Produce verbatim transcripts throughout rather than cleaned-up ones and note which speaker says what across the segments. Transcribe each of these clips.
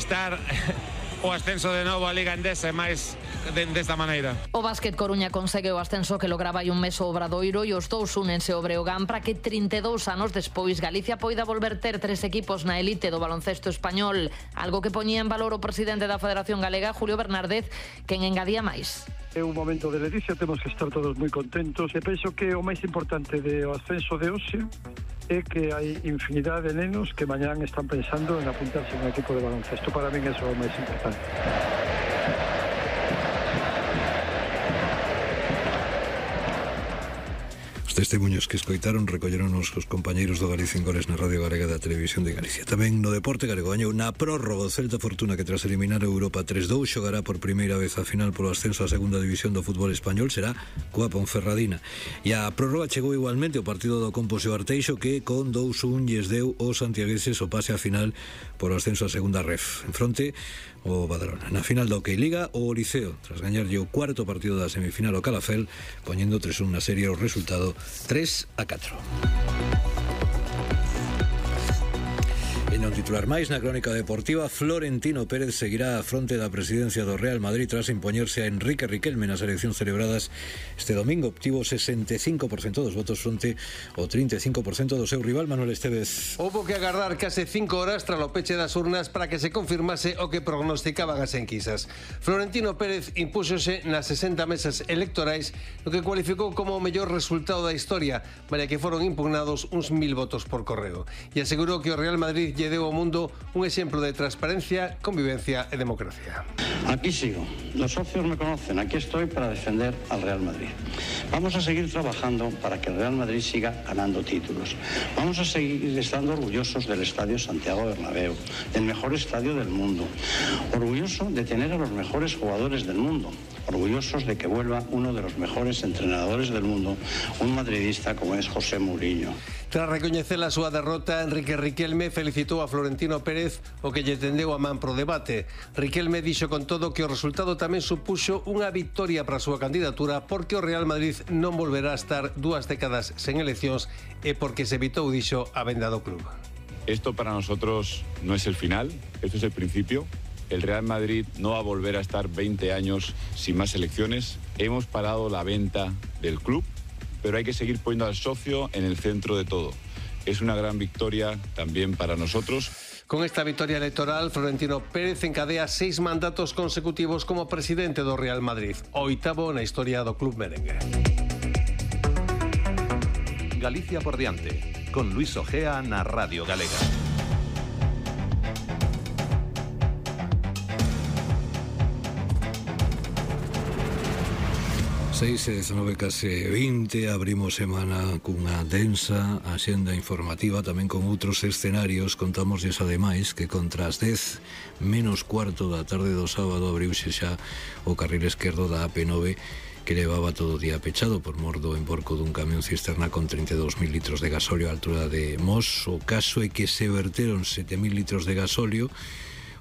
Speaker 1: conquistar o ascenso de novo a Liga Endesa máis de, desta maneira.
Speaker 2: O Básquet Coruña consegue o ascenso que lograba hai un mes o Obradoiro e os dous únense ao Breogán para que trinta e dous anos despois Galicia poida volver ter tres equipos na elite do baloncesto español, algo que poñía en valor o presidente da Federación Galega, Julio Bernárdez, quen engadía máis.
Speaker 3: É un momento de ledicia, temos que estar todos moi contentos e penso que o máis importante do ascenso de hoxe é que hai infinidade de nenos que mañán están pensando en apuntarse en un equipo de baloncesto. Para min eso é o máis importante.
Speaker 4: Testemunhos que escoitaron recolleron os compañeiros do Galicia en Goles na Radio Galega da Televisión de Galicia. Tamén no deporte galego gañou na prórroga o Celta Fortuna, que tras eliminar a Europa tres dous xogará por primeira vez a final polo ascenso á segunda división do fútbol español, será coa Ponferradina. E a prórroga chegou igualmente o partido do Compos e o Arteixo, que con dous un lles deu os santiagueses o pase a final por o ascenso á segunda ref. En fronte o Badalona. Na final da Hockey Liga, o Liceo, tras gañarlle o cuarto partido da semifinal ao Calafel, poñendo tres un na serie, o resultado tres a catro. E non titular máis na crónica deportiva, Florentino Pérez seguirá á fronte da presidencia do Real Madrid tras impoñerse a Enrique Riquelme nas eleccións celebradas este domingo. Obtivo sesenta e cinco por cento dos votos fronte ao trinta e cinco por cento do seu rival Manuel Estévez.
Speaker 5: Houbo que agardar case cinco horas tras o peche das urnas para que se confirmase o que prognosticaban as enquisas. Florentino Pérez impúxose nas sesenta mesas electorais, no que cualificou como o mellor resultado da historia, malia que foron impugnados uns mil votos por correo, e asegurou que o Real Madrid lle deu ao mundo un exemplo de transparencia, convivencia e democracia.
Speaker 6: Aquí sigo. Los socios me conocen. Aquí estoy para defender al Real Madrid. Vamos a seguir trabajando para que el Real Madrid siga ganando títulos. Vamos a seguir estando orgullosos del Estadio Santiago Bernabéu, del mejor estadio del mundo. Orgulloso de tener a los mejores jugadores del mundo. Orgullosos de que vuelva uno de los mejores entrenadores del mundo, un madridista como es José Mourinho.
Speaker 5: Tras recoñecer a súa derrota, Enrique Riquelme felicitou a Florentino Pérez, o que lle tendeu a man pro debate. Riquelme dixo con todo que o resultado tamén supuxo unha victoria para a súa candidatura, porque o Real Madrid non volverá a estar dúas décadas sen eleccións e porque se evitou, dixo, a venda do club.
Speaker 7: Esto para nosotros no es el final, esto es el principio. El Real Madrid no va a volver a estar veinte años sin más elecciones. Hemos parado la venta del club, pero hay que seguir poniendo al socio en el centro de todo. Es una gran victoria también para nosotros.
Speaker 5: Con esta victoria electoral, Florentino Pérez encadea seis mandatos consecutivos como presidente do Real Madrid, o oitavo na historia do club merengue.
Speaker 8: Galicia por diante, con Luis Ojea na Radio Galega.
Speaker 4: seis e dezanove, case vinte, abrimos semana cunha densa axenda informativa, tamén con outros escenarios. Contámoslles ademais que contra as dez menos cuarto da tarde do sábado abriuse xa o carril esquerdo da A P nove, que levaba todo o día pechado por mor do emborco dun camión cisterna con trinta e dous mil litros de gasóleo á altura de Mos. O caso é que se verteron sete mil litros de gasóleo,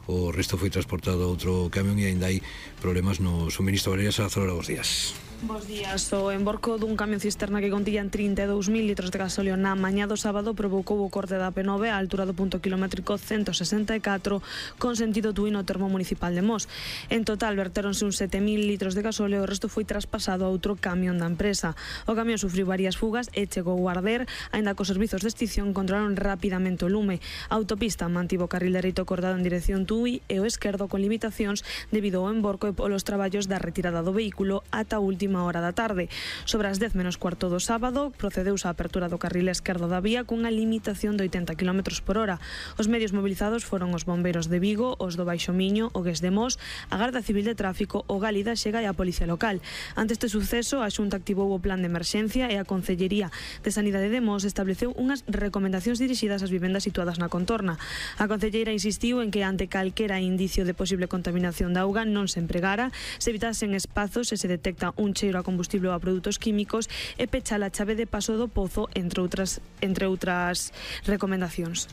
Speaker 4: o resto foi transportado a outro camión e aínda hai problemas no suministro. Valeria Salazar, bos días.
Speaker 9: Bos días. O emborco dun camión cisterna que contían trinta e dous mil litros de gasóleo na mañá do sábado provocou o corte da A P nove á altura do punto kilométrico ciento sesenta e catro con sentido Tui no termo municipal de Mos. En total vertéronse uns sete mil litros de gasóleo e o resto foi traspasado a outro camión da empresa. O camión sufriu varias fugas e chegou a arder, aínda que os servizos de extinción controlaron rapidamente o lume. A autopista mantivo o carril dereito acordado en dirección Tui e o esquerdo con limitacións debido ao emborco e polos traballos da retirada do vehículo ata a última hora da tarde. Sobre as dez menos cuarto do sábado procedeuse a apertura do carril esquerdo da vía cunha limitación de oitenta kilómetros por hora. Os medios mobilizados foron os bombeiros de Vigo, os do Baixo Miño, o Gués de Mos, a Garda Civil de Tráfico, o Gálida Xega e a Policía Local. Ante este suceso, a Xunta activou o plan de emerxencia e a Concellería de Sanidade de Mos estableceu unhas recomendacións dirixidas ás vivendas situadas na contorna. A concelleira insistiu en que ante calquera indicio de posible contaminación da auga non se empregara, se evitasen espazos e se detecta un cheiro a combustible ou a produtos químicos e pechar a chave de paso do pozo, entre outras entre outras recomendacións.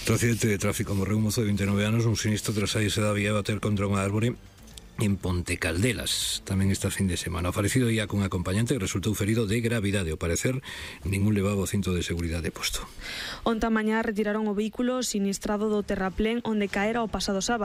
Speaker 4: Outro accidente de tráfico, morreu un mozo de vinte e nove anos, un sinistro tras saírse da vía e bater contra unha árbore en Ponte Caldelas, tamén esta fin de semana. O falecido ia cun acompañante que resultou ferido de gravidade. Ao parecer, ningún levaba o cinto de seguridade posto.
Speaker 9: Onta mañá retiraron o vehículo sinistrado do terraplén onde caera o pasado sábado.